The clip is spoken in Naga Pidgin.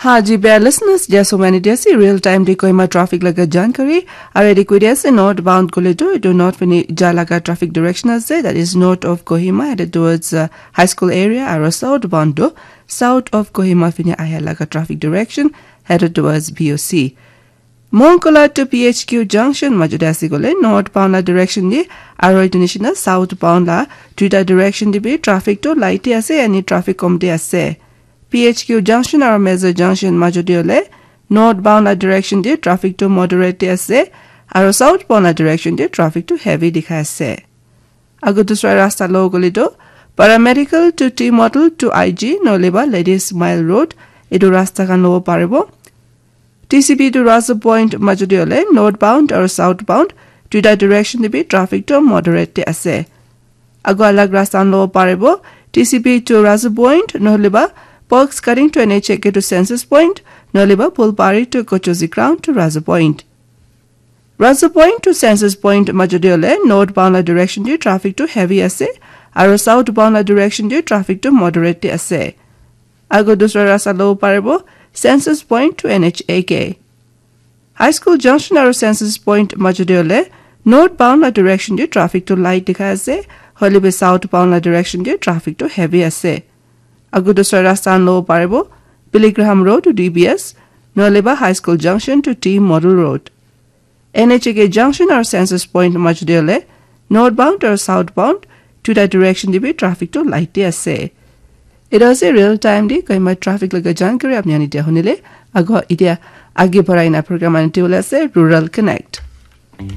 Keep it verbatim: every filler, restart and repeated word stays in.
Ha ji, bia listeners, dia somani dia si real time de Kohima traffic laga jankari. Are de kudia se northbound kule to, do not fini ja laga traffic direction ase, that is north of Kohima, headed towards uh, High School area, aro southbound do, south of Kohima fini aya laga traffic direction, headed towards B O C. Monkola to P H Q junction majode ase kole northbound la direction de, aro etu nishina southbound la duita direction de bi traffic to light de ase, ani traffic kom de ase. P H Q junction aro Meza junction majode ole northbound la direction de traffic to moderate de ase, aro southbound la direction de traffic to heavy dikhai ase. Ago dusra rasta lo gole to paramedical to T model to I G nole ba Ladies Mile Road, etu rasta khan lobo paribo. T C B to Raza Point majode ole northbound aro southbound duita direction de bi traffic to moderate de ase. Ago alag rasta khan lobo paribo, T C B to Raza Point, nohole ba Perks cutting to N H A K to Census Point, nohole ba Pulpari to Kochozi Ground to Raza Point. Raza Point to Census Point majode ole northbound la direction de traffic to heavy ase, aro southbound la direction de traffic to moderate de ase. Ago dusra rasta lobo paribo, Census Point to N H A K. High School junction aro Census Point majode ole northbound la direction de traffic to light dikhai ase, hoile bi southbound la direction de traffic to heavy ase. Ago dusra rasta khan lobo paribo, Billy Graham Road to D B S, nohole ba High School junction to T Model Road. N H A K junction aro Census Point majode ole northbound aro southbound duita direction de bi traffic to light de ase. Etu ase real time de Kohima traffic laga jankari apni ani dia hunile. Ago idia age barai na program ani te ase Rural Connect.